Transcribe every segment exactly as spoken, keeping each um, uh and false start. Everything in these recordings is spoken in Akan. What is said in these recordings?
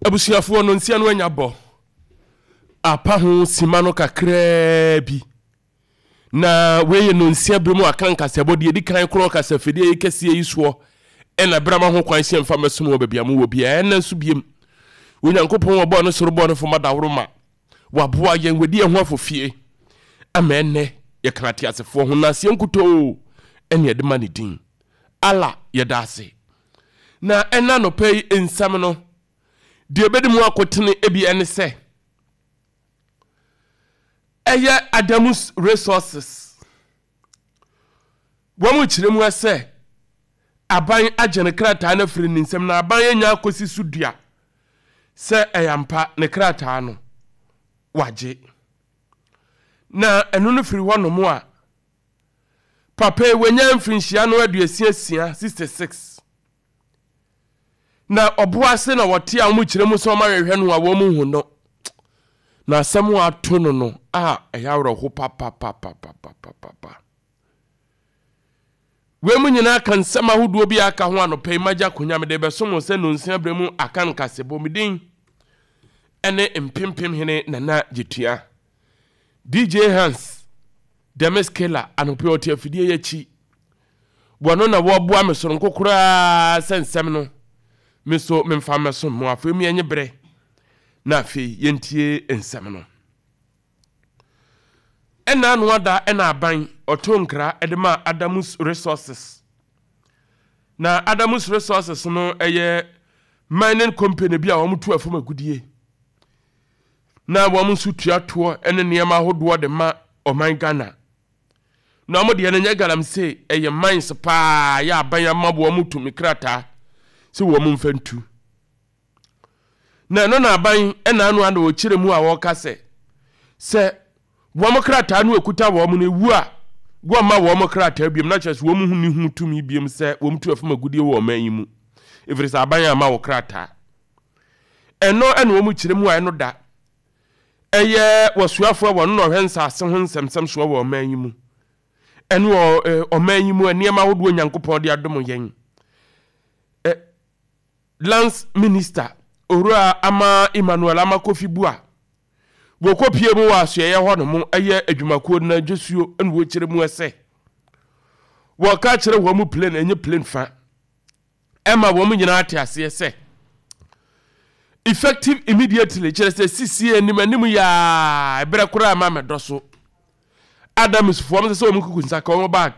Abusuafoɔ, no nsia no anya bɔ apa ho sima no kakraa bi, na wei yɛ nonsia berɛ mu aka nkasɛbɔ deɛ ɛdi kan korɔ kasafidie yi kɛseɛ yi soɔ, ɛna berɛ ma ho kwan sɛ mfa mɛsom wɔ baabi a mowɔ biara. Ɛnna nso biem, Onyankopɔn wɔbɔɔ no soro bɔɔ no fam adaworo ma waboa yɛn, wadi yɛn ho afofie ama ɛnnɛ yɛka ateasefoɔ ho na aseɛ nkutoo ɛne ɛde ma ne din. Allah, yɛda ase. Na ɛna nɔpɛ yi nsɛm no deɛ ɛbɛdi mu akotene ebi ɛne sɛ ɛyɛ Adamus Resources, wɔn mu kyerɛ mu sɛ aban agye ne krataa no afiri ne nsam, na aban anya akɔsi so dua sɛ ɛyɛ ampa ne krataa no wagye. Na ɛno no firi hɔ nom a, papa yi wanya mfirinhyia no aduasia sixty six, na ɔboa ase na wɔte a wɔn kyerɛ mu sɛ wɔn ahwehwɛ no a wɔn hu no, na asɛm a ato no no a ɛyɛ awerɛho papapapapapapa. Wei mu nyinaa ka nsɛm ahodoɔ bi a aka ho. Anɔpɛ yi magya akonnwa mede bɛsom wo sɛ nonsia berɛ mu aka nkasɛbɔ. Me din ɛne Mpempem Hene Nana Gyetua. D J Hans Demis Kela anɔpɛ ɔte afidie yi akyi, wɔno na wɔboa me soronko koraa sɛ nsɛm no me so memfa mmɛsom mo. Afei mu yɛnye berɛ na afei yɛntie nsɛm no. Ɛna ano ada ɛna aban ɔto nkra ɛde ma Adamus Resources, na Adamus Resources no ɛyɛ mining company bi a wɔn tu afam agudie na wɔn nso tua toɔ ne nneɛma ahodoɔ de ma ɔman Ghana. Na wɔn deɛ no nyɛ galamsey, ɛyɛ mines paa yɛ aban ama wɔn tumi krataa sɛ wɔn mfa ntu. Na ɛno na aban ɛna ano ana wɔkyerɛ mu a wɔka sɛ sɛ wɔn krataa no ekuta wɔn no ewu a, wɔmma wɔn krataa biom, na kyerɛ sɛ wɔn ho ni ho tumi biom sɛ wɔn tu afam agudie wɔ ɔman yi mu, efiri sɛ aban ama wɔ krataa. Ɛno ɛna wɔn kyerɛ mu a ɛno da ɛyɛ wɔsoafoɔ a wɔn na ɔhwɛ nsaase ho nsɛmsɛm soɔ wɔ ɔman yi mu, ɛne wɔ ɔman yi mu nneɛma ahodoɔ Nyankopɔn de adom yɛn, ɛ Lands Minister Owura Ama Emmanuel Ama Kofi Bua, wɔkɔpie mu wɔ asoɛeɛ hɔ nom ɛyɛ adwumakuo no adwasuo, ɛna wɔkyerɛ mu ɛsɛ wɔka kyerɛ wɔn mu plane ɛnyɛ plane fa ɛma wɔn nyinaa te aseɛ sɛ effective immediately, kyerɛ sɛ sisi anim anim yaa ɛberɛ koraa ma mɛdɔ so, Adamsfoɔ mo sɛ sɛ wɔn kuku nsa ka wɔn bag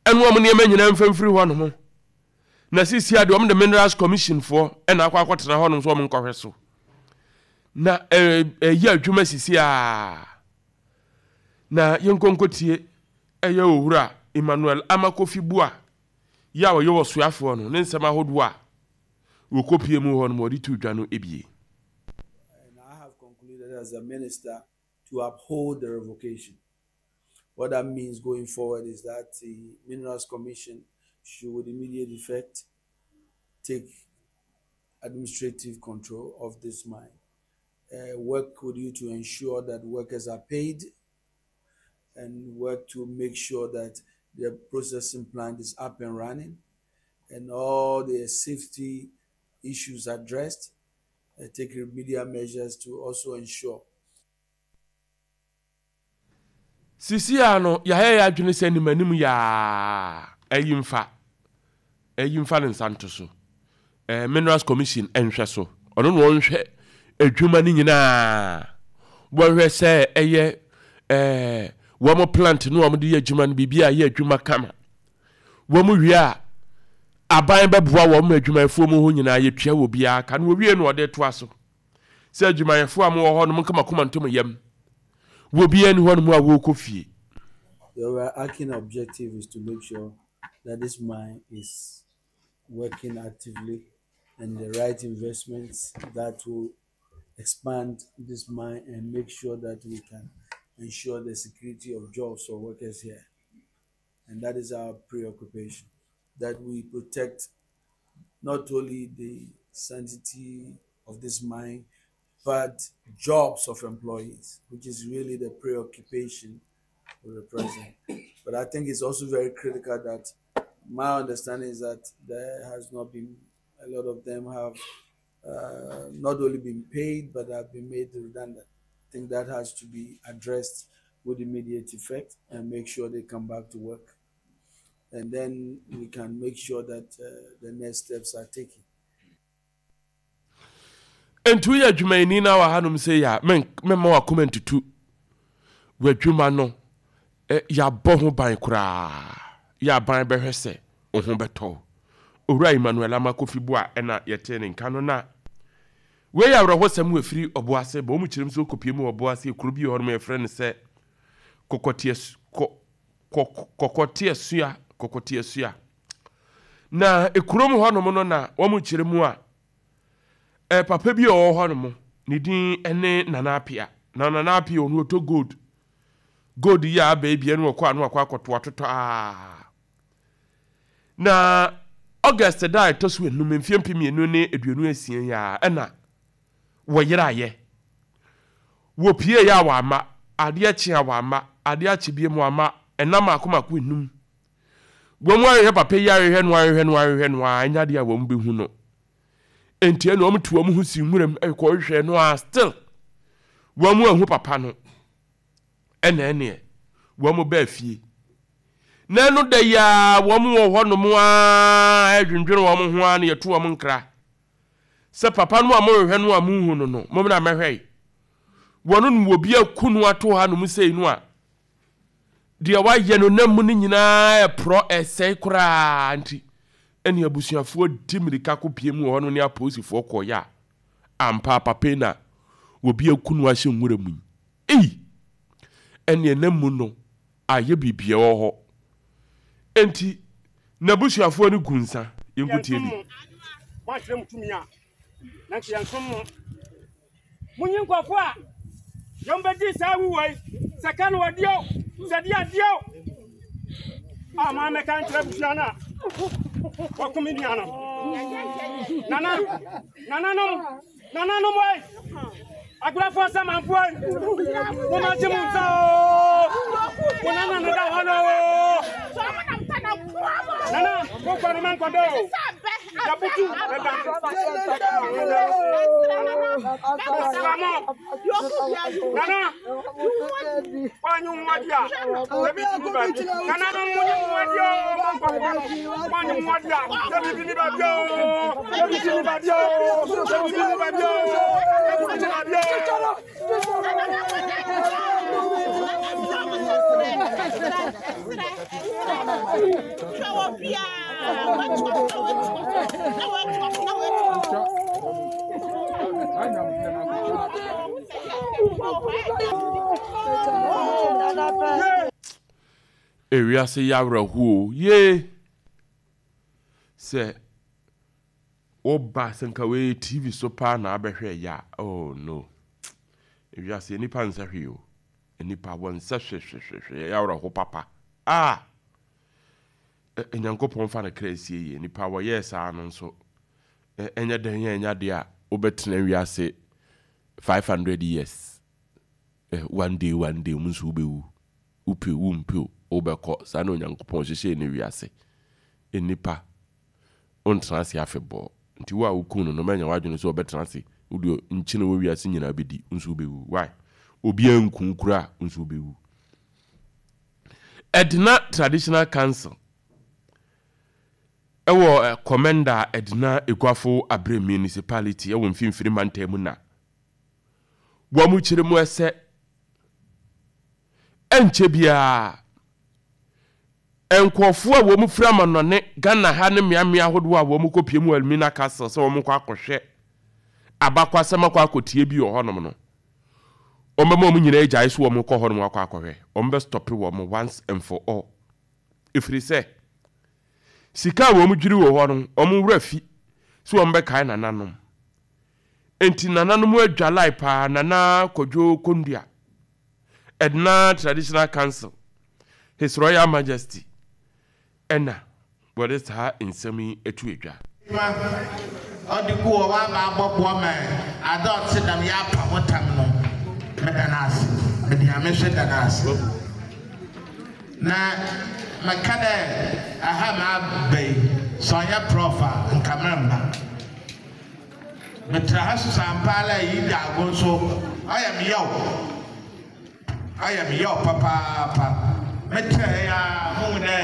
ɛne wɔn nneɛma nyinaa mfamfiri hɔ nom. Na sisi adeɛ wɔn de Minerals Commission foɔ ɛna akɔ akɔtena hɔ nom so wɔn nkɔhwɛ so na ɛyɛ adwuma sisi a. Na yɛnkɔnkɔtie ɛyɛ Owura Emmanuel Amakofi Bua yɛ a ɔyɛ wɔ soafoɔ no ne nsɛm ahodoɔ a wɔkɔpie mu hɔ nom wɔde to dwa no ebie. And I have concluded as a minister to uphold the revocation. What that means going forward is that the Minerals Commission should, with immediate effect, take administrative control of this mine. Uh, work with you to ensure that workers are paid and work to make sure that the processing plant is up and running and all the safety issues addressed. Uh, take remedial measures to also ensure Sisi a no yɛayɛ yɛ adwene sɛ anim anim yaa ɛyi mfa ɛyi mfa ne nsa nto so, ɛɛ Minerals Commission ɛnhwɛ so, ɔno na ɔnhwɛ adwuma no nyinaa, wɔhwɛ sɛ ɛyɛ ɛɛ wɔn plant no wɔn de yɛ adwuma no biribi a yɛ adwuma kama. Wɔn wie a, aban bɛboa wɔn ma adwumayɛfoɔ mu hɔ nyinaa yɛtua wɔ biara ka no. Wɔwie no ɔde toa so sɛ adwumayɛfoɔ a mowɔ hɔ no mo nkama koma ntom yam wɔ biara ni hɔ nom a wɔrekɔ fie. The overarching objective is to make sure that this mine is working actively and the right investments that will expand this mine and make sure that we can ensure the security of jobs for workers here. And that is our preoccupation, that we protect not only the sanctity of this mine, but jobs of employees, which is really the preoccupation of the president. But I think it's also very critical that my understanding is that there has not been, a lot of them have uh, not only been paid but have been made redundant. I think that has to be addressed with immediate effect and make sure they come back to work. And then we can make sure that uh, the next steps are taken. Nti woyɛ adwumayɛni na wɔ hanom sɛ yɛ a, mɛmma wakoma ntutu. W'adwuma no, yɛabɔ ho ban koraa. Yɛ aban bɛhwɛ sɛ wo ho bɛtɔ wo. Owura Emmanuel Ama Kofi Boa ɛna yɛtee ne nka no. Na wei yɛ awerɛhosɛm wɔ ɛfiri Ɔboase ba. Wɔn kyerɛm sɛ ɔkɔpie mu wɔ Ɔboase, kuro bi wɔ hɔnom yɛfrɛ no sɛ Kɔkɔteɛ kɔ kɔ Kɔkɔteɛsua Kɔkɔteɛsua. Na ekurom hɔnom no na wɔn kyerɛ mu a, eh, papa bi a ɔwɔ hɔnom, ne din ne Nana Apia. Na Nana Apia ɔno ɔtɔ gold. Gold yi a aba yi bia no ɔkɔ ano akɔ akɔto atotɔ aa. Na August da a ɛtɔ so enum mfeɛ mpem mmienu ne aduonu asia yi a ɛna wɔyeraeɛ. Wɔpie yɛ a wɔama, adeɛ kye a wɔama, adeɛ akye biem wɔama, ɛna mako mako enum. Wɔn mu ahwehwɛ papa yi, ahwehwɛ no, ahwehwɛ no, ahwehwɛ no a, ɛnyɛ adeɛ a wɔn bɛhu no. Enti ɛna wɔn tu wɔn ho si nwuram kɔhwehwɛ no a, still wɔn mu ahu papa no. Ɛna ɛneɛ wɔn baa fie. Na ɛno da yi a wɔn wɔ hɔnom a ɛdwendwene wɔn ho a na yɛto wɔn nkra sɛ papa no a mohwehwɛ no a monhu no no, mommra mmɛhwɛ yi. Wɔn no wɔ bi aku no ato hanom sei no a, deɛ wayɛ no nam mu no nyinaa ɛporɔ ɛsɛe koraa. Nti ɛne abusuafoɔ di mmirika kɔpie mu wɔ hɔ no ne apolisifoɔ kɔɔyɛ a, ampa papa yi na obi aku no ahyɛ nwura mu yi. Ei! Ɛne nam mu no ayɛ biribi wɔ hɔ. Enti n'abusuafoɔ no gu nsa. Yɛnkotie bi. Moakyerɛ mo tumi a, na nka yɛnsom mo. Monyi nkurɔfoɔ a yɛn bɛdi saa wuwɔ yi, sɛ ka no wɔdeɛ o, sɛ deɛ adeɛ o. A maa mɛka nkyerɛ abusua no a wɔko me nua no. Nana, nananom, nananom oi, agorɔfoɔ nsamanfoɔ oi, momma gye mo nsa o. Mo nana no da hɔ no o. Nana, mo kɔ no mankɔdɔ o. Yabutu ɛda. Mesra mo. Nana, wanyi ho adi a, ebi tumi baabi. Nana no mo nyi ho adi o, mo nkɔfoɔ no. Wanyi ho adi a, ebi bi ni baabi o. Ebi bi ni baabi o. Ebi bi ni baabi o. Ebi bi ni baabi o. Ewiase yɛ awerɛhoɔ yee sɛ woba sɛ nka wei T V so paa na abɛhwɛ yɛ a, oh no, ewiase nipa nsɛ hwee o, nipa wɔ nsɛ hwehwehwehwɛ. Yɛ awerɛho papa a Nyankopɔn fa no kra sie yie. Nipa wɔyɛɛ saa no nso, ɛnyɛ dɛn yɛ ɛnyɛ adeɛ a wobɛtena wiase five hundred years. One day, one day mu nso wobɛwu. Wopɛ wumpɛ, wobɛkɔ. Saa na Onyankopɔn hyehyɛ ne wiase. Nipa wontena ase afebɔɔ. Nti wo a woku no no, mɛnya w'adwene sɛ wɔbɛtena ase. Wode nkyene wɔ wiase nyinaa bɛdi nso, wobɛwu. Why? Obiara nku kura a nso wobɛwu. Ɛdena Traditional Council ɛwɔ Komenda Ɛdena Eguafo Abere Municipality ɛwɔ Mfimfini Mantam mu na wɔn mu kyerɛ mu ɛsɛ ɛnkyɛ biara nkurɔfoɔ a wɔn firi amanɔne, Ghana ha ne mmeammea ahodoɔ a wɔn kɔpie mu Elmina Castle sɛ wɔn kɔ akɔhwɛ abakwasɛm, akɔ akɔtie bi wɔ hɔnom no, wɔn bɛma wɔn nyinaa agyae so. Wɔn kɔ hɔnom akɔ akɔhwɛ, wɔn bɛ stop wɔn once and for all, ɛfiri sɛ sika a wɔn dwiri wɔ hɔ no, wɔn wura fi so wɔn bɛkae nananom. Nti nananom adwalae paa. Nana Kwadwo Kondua, Ɛdena Traditional Council, His Royal Majesty, ɛna wɔde saa nsɛm yi atu adwa. Ɔde gu wɔ waba abɔboa ma ade ɔte dam yɛ apa ho tam no, meda no ase, mede Nyame so da no ase. Na meka dɛ aha ma aba yi, sɛ ɔnyɛ Prof a, nka meremba. Metra ha so sampa ala yi da ago nso ɔyɛ me yaw. Ɔyɛ me yaw papaapa. Metra ya mu dɛ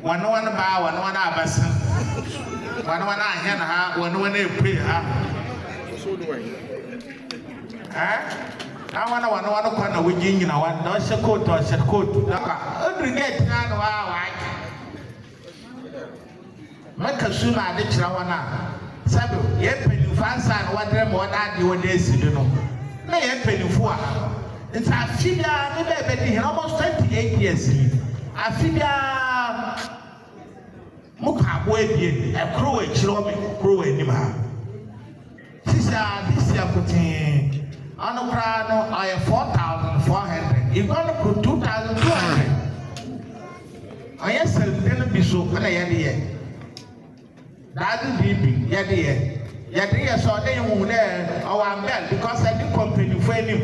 wɔne wɔn ba wɔne wɔn abɛsen. Wɔne wɔn ahɛn ha wɔne wɔn epue ha. Eh? Na wɔn wɔne wɔn kɔ na wogye nyina wɔn na ɔhyɛ coat ɔhyɛ coat na ka oduru gate na na wa wa. Maka su na ade kyerɛ wɔn a sɛbe yɛn mpanyinfo ansa na wɔdrɛ ma wɔn ade wɔde esi do no na yɛn mpanyinfo wɔ ha nti afi biara ne bɛɛ bɛdi hɛn almost twenty eight years ni afi biara mo kɔ aboa ebien ɛkoro wɔ akyire wɔ me koro wɔ anim ha sisi a this year kotee ɔno koraa no ɔyɛ four thousand four hundred igua no koro two thousand two hundred ɔyɛ sɛlden no bi so ɛna yɛde yɛ. Daadze biribi yɛde yɛ yɛde yɛ sɛ ɔde hu dɛ ɔwɔ ambɛl because ɛde kɔ mpanyinfo anim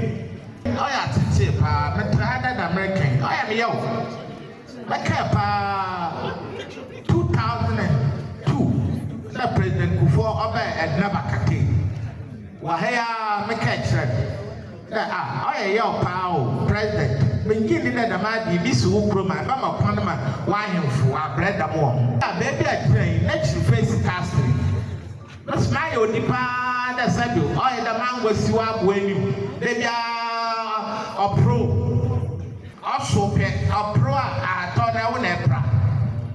ɔyɛ atete paa metra ha dɛ na American ɔyɛ me yaw mɛkae paa two thousand and two na President Kufuor ɔbɛɛ Edna Bakate wɔ ha yi a mekae kyerɛ no dɛ ah ɔyɛ yaw paa o President mengye nni dɛ dɛm ade bi si wo kurom a ɛbɛma kwan ma w'ahemfo abrɛ dam wɔ ho a baabi a gyina yi n'akyiri face castle mesoma ayɛ odi paa dɛ sɛbi ɔyɛ dɛ mango si w'aboa anim da biara ɔporo ɔso pɛ ɔporo a ahatɔ na ɛwo na ɛpra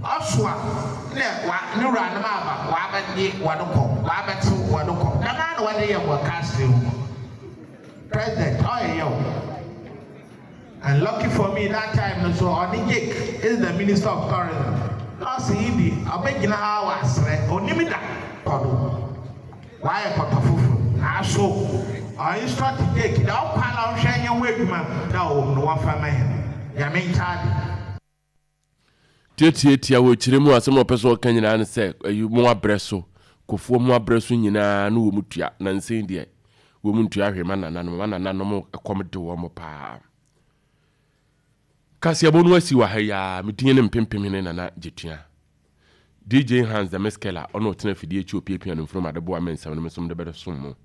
ɔso a na wa ne wuranom aba wabɛgye wɔde kɔ wabɛtew wɔde kɔ dɛm ara na wɔde yɛ wɔ castle mu President ɔyɛ yaw. And lucky for me that time no so ɔne Jake is the minister of tourism na ɔsi yi di ɔbɛgyina ha wɔ asrɛ onim da kɔdo wayɛ kɔtɔ foforɔ aso ɔ instruct Jake da ɔkɔ ala ɔhwɛ nyɛ ho adwuma da ɔwɔ mu no wɔfa ma hɛn Nyame nkyɛn Tietietia wɔ kyerɛ mu asɛm a ɔpɛ sɛ ɔka nyinaa ne sɛ ɛyi mo abrɛ so kofoɔ mo abrɛ so nyinaa no wɔ mu tua na nsɛn deɛ wɔ mu ntua hwee ma nananom ma nananom ɛkɔm de wɔn paa. Kaseɛbɔ no asi wɔ ha yi a medin ne mpempem hene Nana Gyetua D J Hans the Miskela ɔne ɔtena afidie akyi opiapia no mfurum ade boa me nsɛm no me som de bɛde mo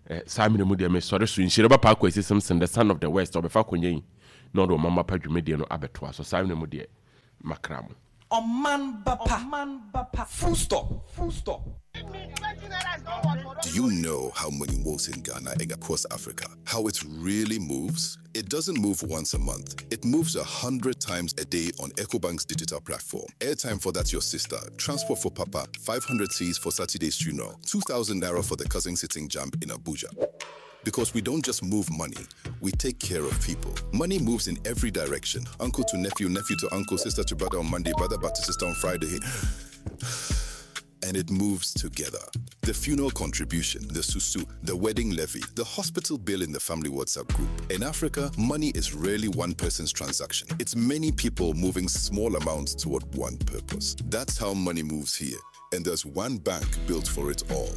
eh, saa mmerɛ mu deɛ mesɔre so nhyire ba Paako Asi Simpson, the son of the West, ɔbɛfa akonnwa yi na ɔde ɔmama pa dwumadie no abɛtoa so. Saa mmerɛ mu deɛ makra mo. Ɔman ba pa. Full stop. Full stop. Do you know how money moves in Ghana and across Africa? How it really moves? It doesn't move once a month. It moves a hundred times a day on EcoBank's digital platform. Airtime for that your sister, transport for papa, five hundred cedis for Saturday's funeral, two thousand naira for the cousin sitting JAMB in Abuja. Because we don't just move money, we take care of people. Money moves in every direction. Uncle to nephew, nephew to uncle, sister to brother on Monday, brother back to sister on Friday. And it moves together. The funeral contribution, the susu, the wedding levy, the hospital bill in the family WhatsApp group. In Africa, money is rarely one person's transaction. It's many people moving small amounts toward one purpose. That's how money moves here. And there's one bank built for it all.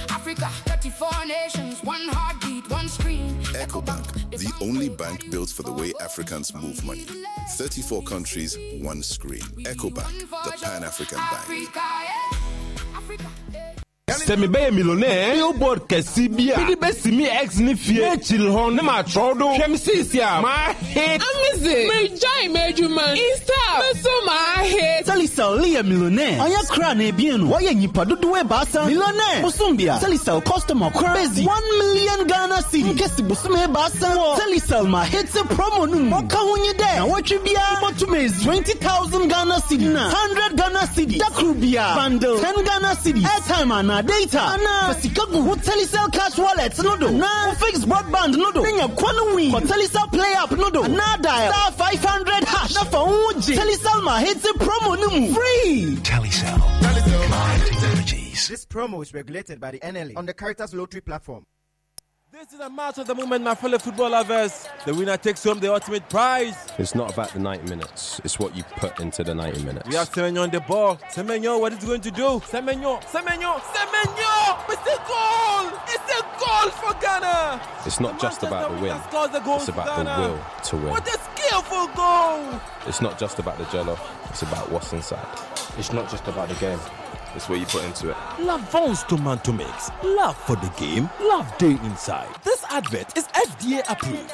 Africa, thirty-four nations, one heartbeat, one screen. EcoBank, the only bank built for the way Africans move money. thirty-four countries, one screen. EcoBank, the Pan African bank. Africa, yeah. Africa, yeah. Sɛ mebɛyɛ millionaire, billboard kɛse bi a mede bɛsi me ex ne fie n'akyiri hɔ ne maatwerɛw do hwɛm seesi a maahe. Amazing! Megyae m'adwuma. Insta, meso maahe. Telecel yɛ millionaire. Ɔnyɛ kra na ebien no. Wɔyɛ nyimpa dodoɔ ebaasa. Millionaire. Bosombia. Telecel customer kor bezi one million Ghana cedi. Nkesi bosome ebaasa wɔ Telecel ma hete promo no mu. Ɔka ho nye dɛ na wɔtwe biara bɔtum ezi twenty thousand Ghana cedi na hundred Ghana cedi. Dakoro biara bundle ten Ghana cedi. Airtime anaa data anaa fa sika gu wo Telecel cash wallet no do na wo fixed broadband no do. Na nya kwan win. Kɔ Telecel Play app no do anaa dial star five hundred hash na fa wo ho gye Telecel ma hete promo no mu free. Telecel. Connecting energies. This promo is regulated by the N L A on the Caritas Lottery platform. This is a match of the moment, my fellow football lovers. The winner takes home the ultimate prize. It's not about the ninety minutes, it's what you put into the ninety minutes. We have Semenyo on the ball. Semenyo, what is he going to do? Semenyo, Semenyo, Semenyo! It's a goal! It's a goal for Ghana! It's not just about the win, Scores the goal it's for about the Ghana. will to win. What a skillful goal! It's not just about the jollof, it's about what's inside. It's not just about the game, It's what you put into it. Lavon's tomato mix. Love for the game, love day inside. This advert is F D A approved.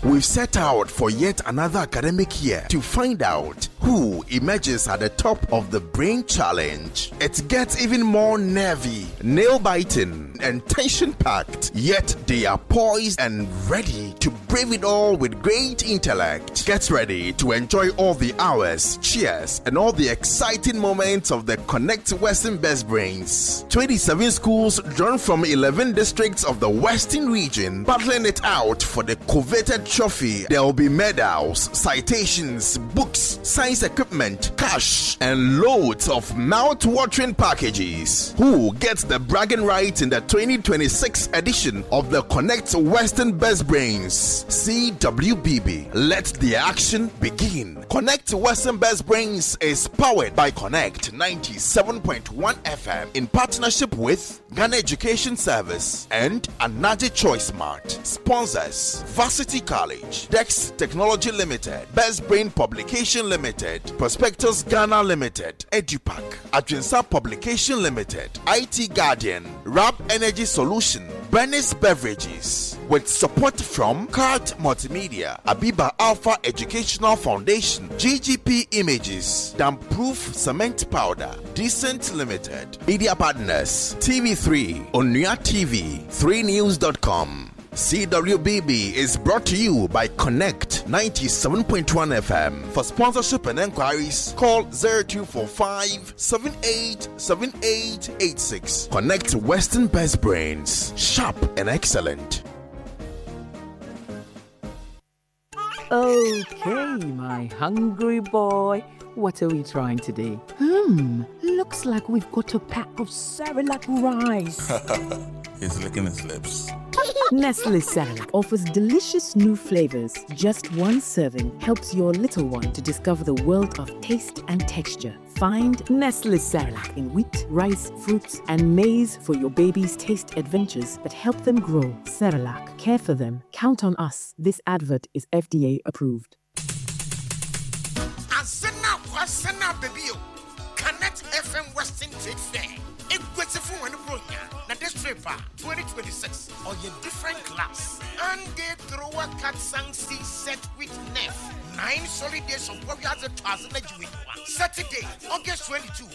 We've set out for yet another academic year to find out who emerges at the top of the Brain Challenge. It gets even more nervy, nail biting, and tension packed, yet they are poised and ready to brave it all with great intellect. Get ready to enjoy all the hours, cheers, and all the exciting moments of the Connect Western Best Brains. twenty-seven schools drawn from eleven districts of the Western region battling it out for the coveted trophy. There will be medals, citations, books, science equipment, cash, and loads of mouth-watering packages. Who gets the bragging rights in the twenty twenty-six edition of the Connect Western Best Brains? C W B B. Let the action begin. Connect Western Best Brains is powered by Connect ninety-seven point one F M in partnership with Ghana Education Service and Anaji Choice Mart. Sponsors: Varsity College, Dex Technology Limited, Best Brain Publication Limited, Prospectus Ghana Limited, EduPack, Adwinsa Publication Limited, I T Guardian, Rap Energy Solution, Bernice Beverages, with support from Card Multimedia, Abiba Alpha Educational Foundation, G G P Images, Damproof Cement Powder, Decent Limited, Media Partners, T V three, Onua T V, three news dot com. C W B B is brought to you by Connect ninety-seven point one F M. For sponsorship and enquiries, call zero two four five seven eight seven eight eight six. Connect Western Best Brains, sharp and excellent. Okay, my hungry boy. What are we trying today? Hmm, looks like we've got a pack of Cerelac rice. He's licking his lips. Nestle Cerelac offers delicious new flavors. Just one serving helps your little one to discover the world of taste and texture. Find Nestle Cerelac in wheat, rice, fruits, and maize for your baby's taste adventures that help them grow. Cerelac, care for them. Count on us. This advert is F D A approved. Asena kwasena baby o. Connect F M Western Trade Fair. Eguesifo wɔ ne bronya na this trip a twenty twenty-six ɔyɛ different class. And they throw a cat sang see set with nef. Nine solid days of warriors thousand. Saturday, August twenty-two.